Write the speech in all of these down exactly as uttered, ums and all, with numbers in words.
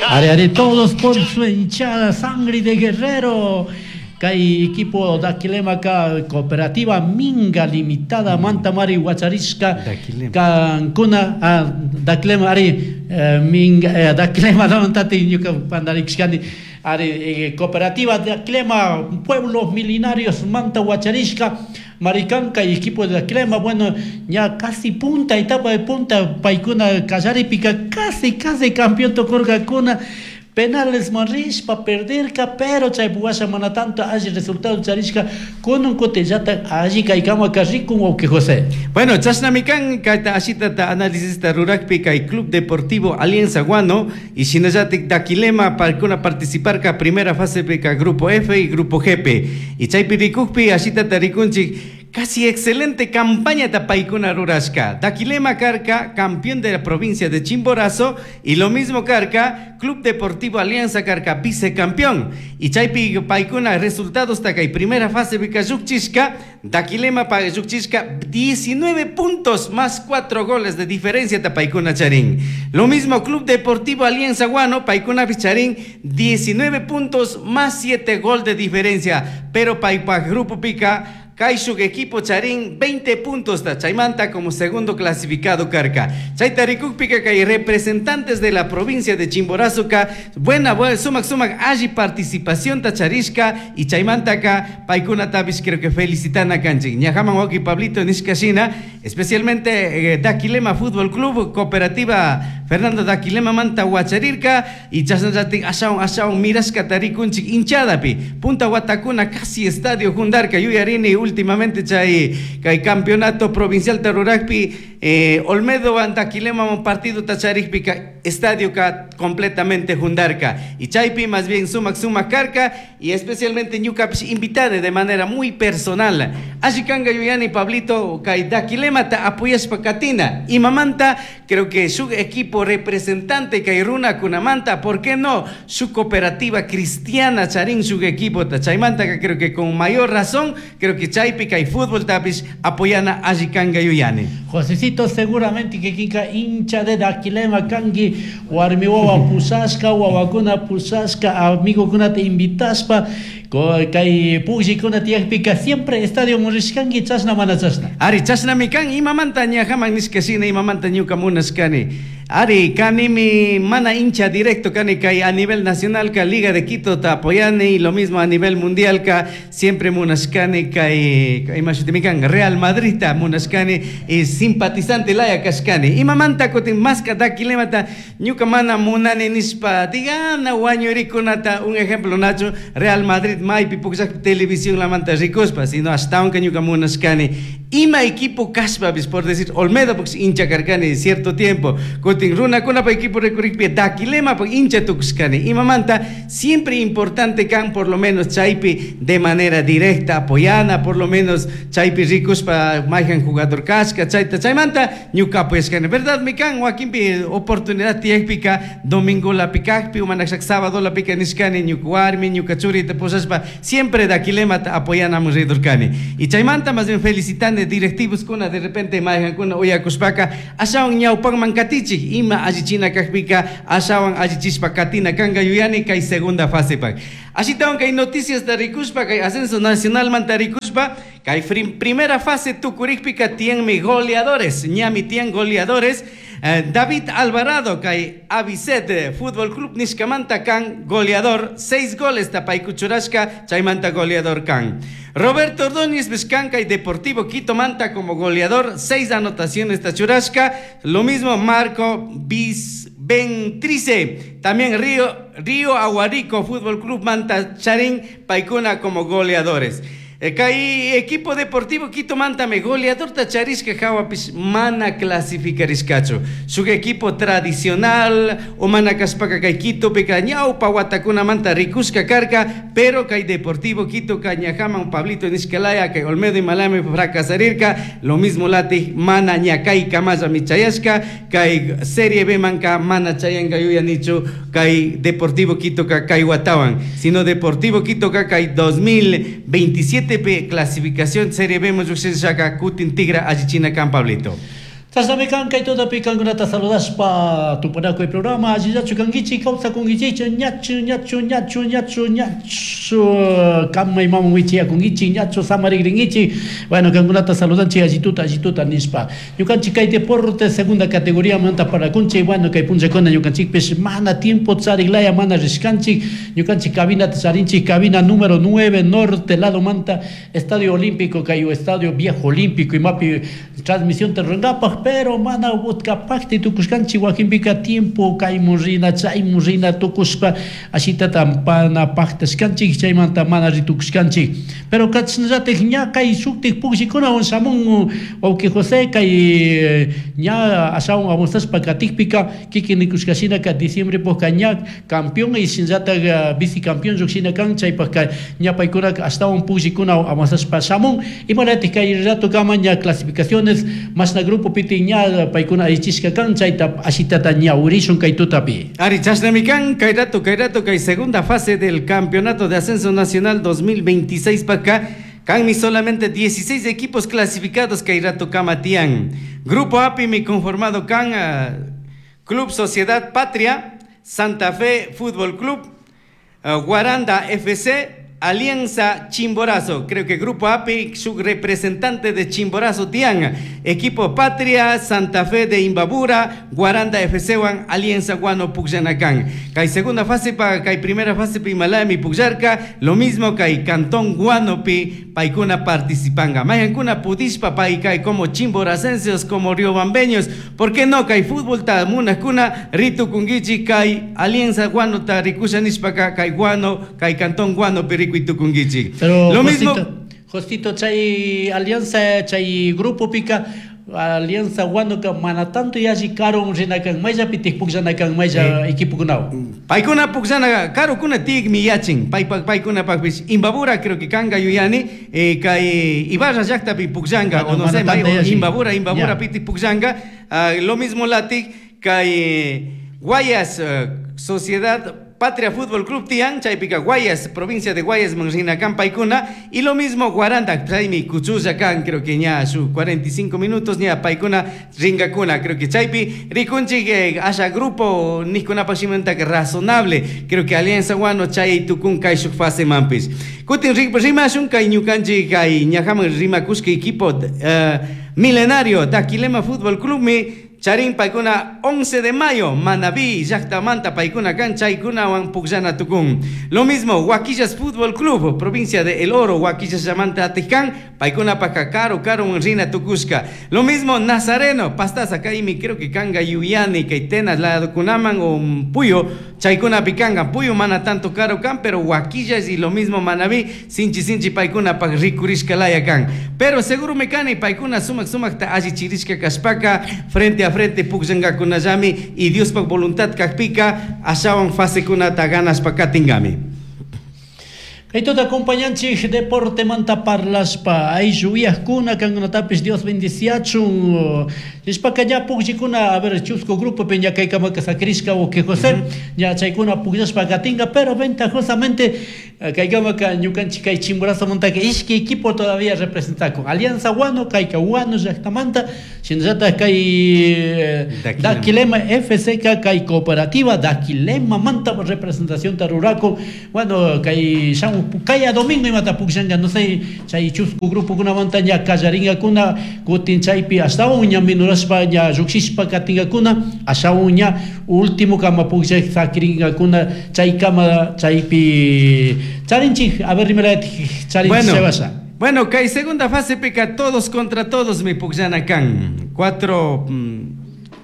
Ari, ari, todos por su hinchada, sangre de guerrero. Kay equipo Daquilema ka cooperativa Minga Limitada Mantamari huacharishka kankuna, ah, Daquilema ari eh, Minga eh, Daquilema tati ñuka pandarishkani ari eh, cooperativa Daquilema pueblos milenarios manta huacharishka Maricanca y equipo de Daquilema, bueno, ya casi punta, etapa de punta, paykuna kallaripika casi casi campeón tukurkakuna. Penales rishpa perderka, pero chay washa mana tanto alli resultado charishka kunan kutillata alli kaykama rikun wawqi José. Bueno, chashnami kan kayta ashitata análisista rurakpi kay Club Deportivo Alianza Guano y shinallatik Daquilema paykuna participarka primera fase ka Grupo F y Grupo G P. Y chaypi rikukpi ashitata rikunchik casi excelente campaña paykuna rurashka. Daquilema karka, campeón de la provincia de Chimborazo, y lo mismo karka, Club Deportivo Alianza karka, vicecampeón. Y chaypi paykuna resultados kay primera fase pika llukchishka, Daquilema llukchishka diecinueve puntos más cuatro goles de diferencia paykuna charin. Lo mismo Club Deportivo Alianza Guano, paykuna charin diecinueve puntos más siete gol de diferencia. Pero paypa grupo pika kayshuk equipo charin veinte puntos ta chaymanta como segundo clasificado karka. Chayta rikukpika kay representantes de la provincia de Chimborazo ka buena, buena sumak sumak alli participación ta charishka y chaymanta ka paykunatapish creo que felicitana kanchik. Ñajaman wawqi Pablito nishka especialmente eh, Daquilema Fútbol Club, Cooperativa Fernando Daquilema manta huacharirka y chasnallatik ashawan ashawan mirashkata rikunchik hinchadapi. Punta watakuna casi estadio hundarka. Yuyarini últimamente chay kay campeonato provincial ta rurakpi eh, Olmedo Daquilema partido ta charikpika estadio ka completamente hundarka y chaypi más bien sumak sumak karka y especialmente ñukapish invitada de manera muy personal. Alli kanga yuyani, Pablito, kay Daquilema ta apoyashpa katina y mamanta creo que su equipo representante kay runakunamanta, ¿por qué no? Su cooperativa cristiana charin su equipo ta chaymanta creo que con mayor razón creo que chaypi kay fútbol tapish apoyana alli kanga yuyani. Josecito, seguramente que kinka hincha de Daquilema kanki, warmi wawa pushashka, wawakuna pushashka, amigokunata invitashpa, kay pukllikuna tiyakpika siempre estadio rishkanki, chashna mana chashna? Ari, chashnami kan. Imamanta ñajaman nishka shina, imamanta ñuka munashkani. Ari, kanimi mana hincha directo kani kay a nivel nacional ka Liga de Quito ta apoyani y lo mismo a nivel mundial ka siempre munashkani kay ima shutimi kan Real Madrid ta munashkani y simpatizante laya kashkani. Imamanta kutin maska Daquilemata ñuka mana munani nishpa digana wañurikunata un ejemplo Nacho Real Madrid maypi pukllak televisión lamanta rikuspa, sino hasta aunque ñuka munashkani ima equipo kashpapis, por decir Olmedo pues hincha karkani cierto tiempo, kutin runakunapa equipo rikurikpi Daquilema pues hincha tukushkani. Imamanta siempre importante kan por lo menos chaypi de manera directa apoyana, por lo menos chaypi rikushpa mayhan jugador kashka chayta chaymanta ñuka apoyashkani, verdad mi kan wakinpi oportunidad tiyakpika domingo lapikakpi umanakshak sábado lapika nishkani ñuka warmi ñuka churita pushashpa siempre Daquilemata apoyanamun ridurkani y chaymanta más bien felicitane directivos kuna de repente mayhankuna uyakushpaka ashawan ñawpakman katichik ima allichina kakpika ashawan allichishpa katina kanga yuyani kay segunda fase pak. Ashitawan kay noticias ta rikushpa kay ascenso nacional manta rikushpa kay primera fase tukurikpika tiyanmi goleadores, ñami tiyan goleadores. eh, David Alvarado kay Avicet eh, Fútbol Club nishkamanta kan goleador, seis goles ta paykuchurashka chaymanta goleador kan. Roberto Ordóñez Vizcanca y Deportivo Quito manta como goleador, seis anotaciones ta churashka. Lo mismo Marco Bis Ventrice, también Río, Río Aguarico Fútbol Club manta charin paykuna como goleadores. Kay equipo Deportivo Quito mantami goleador ta charishka hawapish mana clasificarishkachu. Shuk equipo tradicional o mana kashpaka kay Quito pika ñawpa watakunamanta rikushka karka, pero kay Deportivo Quito ka ñajaman Pablito nishkalaya kay Olmedo imalami fracasarirka, lo mismo lati mana ñakay kamalla michayashka kay Serie B manka mana chayanka yuyanichu kay Deportivo Quito ka kay watawan, sino Deportivo Quito ka kay dos mil veintisiete P clasificación Serie B lluqshishaka kutin tigra allichina kan, Pablito. Chashnami kan kay tutapi kankunata saludashpa tupanakuy programa allillachu kankichik kawsakunkichikchu ñachu ñachu ñachu ñachu ñachu kamaymaman wichiyakunkichik ñachu samarikrinkichik. Bueno, kankunata saludanchik allituta allituta nishpa ñukanchik kay deporte segunda categoría manta parakunchik. Bueno, kay punllakuna ñukanchikpish mana tiempo chariklaya mana rishkanchik. Ñukanchik cabinata charinchik, cabina número nueve norte lado manta Estadio Olímpico, kay Estadio Viejo Olímpico imapi transmisión rurankapak, pero mana utkapakti tukushkanchik wakinpika tiempo kaymun rina chaymun rina tukushpa ashitata pana paktashkanchik, chaymanta mana ritukushkanchik. Pero kachnallatik ña kay shuktik pukllikunawan shamun wawqi José, kay ña ashawan avanzashpa katikpika kikin nikushkashinaka diciembre pukka ña campeón y shinallatak vicecampeón llukshina kan, chaypaka ña paykunaka ashtawan pukllikunawan avanzashpa shamun. Imaratik kay rato kama ña clasificaciones mashna grupo piti ña paykuna allichishka kan, chayta ashitata ña urishun kay tutapi. Ari chashnami kan kay rato kay rato kay segunda fase del Campeonato de Ascenso Nacional dos mil veintiséis paka kanmi solamente dieciséis equipos clasificados kay rato kama tian. Grupo A P I mi conformado kan uh, Club Sociedad Patria, Santa Fe Fútbol Club, uh, Guaranda F C, Alianza Chimborazo. Creo que Grupo A P I, su representante de Chimborazo tian. Equipo Patria, Santa Fe de Imbabura, Guaranda F C wan, Alianza Guano Pucllanacan. Kay segunda fase pa, kay primera fase pi Malami Pucllarca, lo mismo kay Cantón Guano pi paikuna participanga. Mayankuna pudishpa pai kay como chimboracenses, como riobambeños, ¿por qué no? Kay fútbol ta munakuna, ritu kungichi kay Alianza Guano ta rikusha nishpaka kay Guano, kay Cantón Guano pi riku tukungichi. Pero lo mismo Josito, chay Alianza, chay grupo pica Alianza Guano ka mana tanto yashi karo rinakan maya pitik pukllanakan maya equipo kunao. Paykuna pukllana karo kuna tik mi yachin. Pay paykuna pakpis Imbabura creo que kanga yuyani, eh, kay Ibarra llaqtapi pukllanga o no sé, Imbabura Imbabura pitik pukllanga, uh, lo mismo latik kay Guayas uh, Sociedad Patria Fútbol Club tian, chaypika Guayas, provincia de Guayas, manrinakan paykuna, y lo mismo Guaranda, chaymi kuchulla kan, creo que ña su cuarenta y cinco minutos, ña paykuna ringakuna, creo que chaypi rikunchik eh, haya grupo nikuna pashimanta que razonable, creo que Alianza Guano chay tukun kay shuk fase mampis. Kutin rimashun kay ñukanchik kay ñajaman rimakushka equipo uh, milenario Daquilema Fútbol Club mi Charín paikuna once de mayo, Manabí, llaqtamanta paikuna kan, chaykunawan pukllana tukun. Lo mismo, Huaquillas Fútbol Club, provincia de El Oro, Huaquillas llamanta atijkan, paikuna paka caro, caro rina tukushka. Lo mismo, Nazareno, Pastaza, kaimi, creo que kanga yuyani, kaitenas, la kunaman o puyo, chaykuna pikanga, puyo mana tanto caro kan, pero Huaquillas y lo mismo Manabí, sinchi sinchi paikuna pak rikurishka laya kan. Pero seguro mecani, paikuna sumak sumak ta alli chirishka kashpaka, frente a frente pukllangakunallami y Diospak voluntad kakpika ashawan fasekunata ganaspa katingami. Kay tuta acompañanchik deporte manta parlaspa aylluwiajkuna kankunatapis Dios bendiciachun nishpaka ña pukllikuna a ver chusco grupo pe ña kaykamaka sakrishka o que José ña chaykuna pukllashpa katinga, pero ventajosamente kaykamaka ñukanchik kay Chimborazo montaka ishki equipo todavía representakun Alianza Guano kayka Guano llaqtamanta shinallatak kay Daquilema F C K kay Cooperativa Daquilema manta representación tarurakun. Bueno, kay shamu kaya domingo imata pukllanga no sé chay chusku grupo kuna manta ña kallaringakuna kutin chaypi ashtawan ña minurashpa ña lluqshishpa katingakuna ashtawan ña último kama pukllaq sakiringakuna chaykama chaypi charinchik a ver rimaratik charinchik chaywasha. Bueno, kay segunda fase pica todos contra todos mi pukllana kan cuatro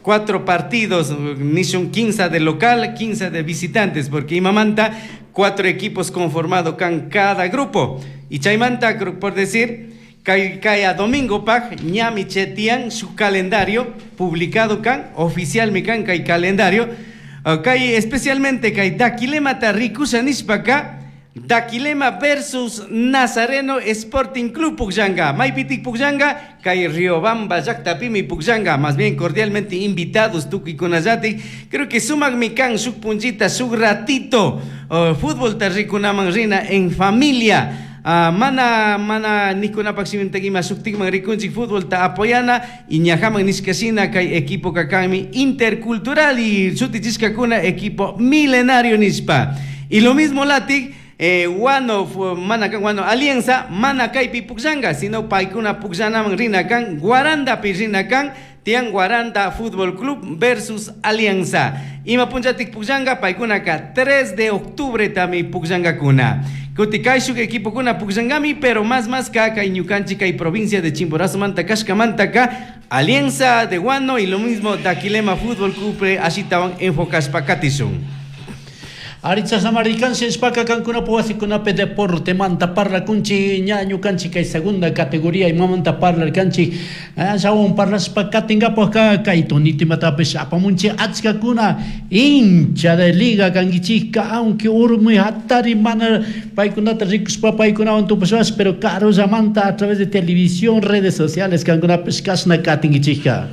cuatro partidos, nishun quince de local, quince de visitantes, porque imamanta cuatro equipos conformado con cada grupo. Y chaymanta, por decir, kay, kay a domingo paj, ñami chetian su calendario publicado kan, oficial mi kan kay calendario, uh, kay especialmente kay Daquilema ta rikusha nishpaka, Daquilema versus Nazareno Sporting Club Pukllanga, Maypitik Pukllanga, kay Riobamba llaqtapimi Pukllanga, más bien cordialmente invitados tukuy-kunallati. Creo que sumak mi kan shuk punchita, shuk ratito, uh, fútbol tarrikunaman rina en familia. uh, mana mana nikunapak shiminta ima shuktikman rikunchik futbolta apoyana y ñajaman nishkashina kay equipo kanmi intercultural y shutichishkakuna equipo milenario nishpa. Y lo mismo latik eh, Guano, mana kan Guano Alianza, mana kaypi pukllanga, sino paykuna pukllanaman rina kan, Guarandapi rina kan, Tian Guaranda Fútbol Club versus Alianza. Ima punllatik pukllanga, paykunaka tres de octubre tami pukllangakuna. Kuti kayshuk equipokuna pukllangami, pero más más ka kay ñukanchik kay provincia de Chimborazo manta kashkamanta ka Alianza de Guano y lo mismo Daquilema Fútbol Club ashitawan enfocashpa katishun. Aricha samarikan shishpaka kankuna wasikunapi deporte manta parlakunchik ña ñukanchik kay segunda categoría imamanta parlarkanchik ashawan parlashpa katinkapak kay tonito imatapish apamunchik achkakuna hincha de liga kankichikka aunque urmi hatari mana paykunata rikushpa paykunawan tupashpash pero karullamanta a través de televisión, redes sociales kankunapish kashna katinkichikka.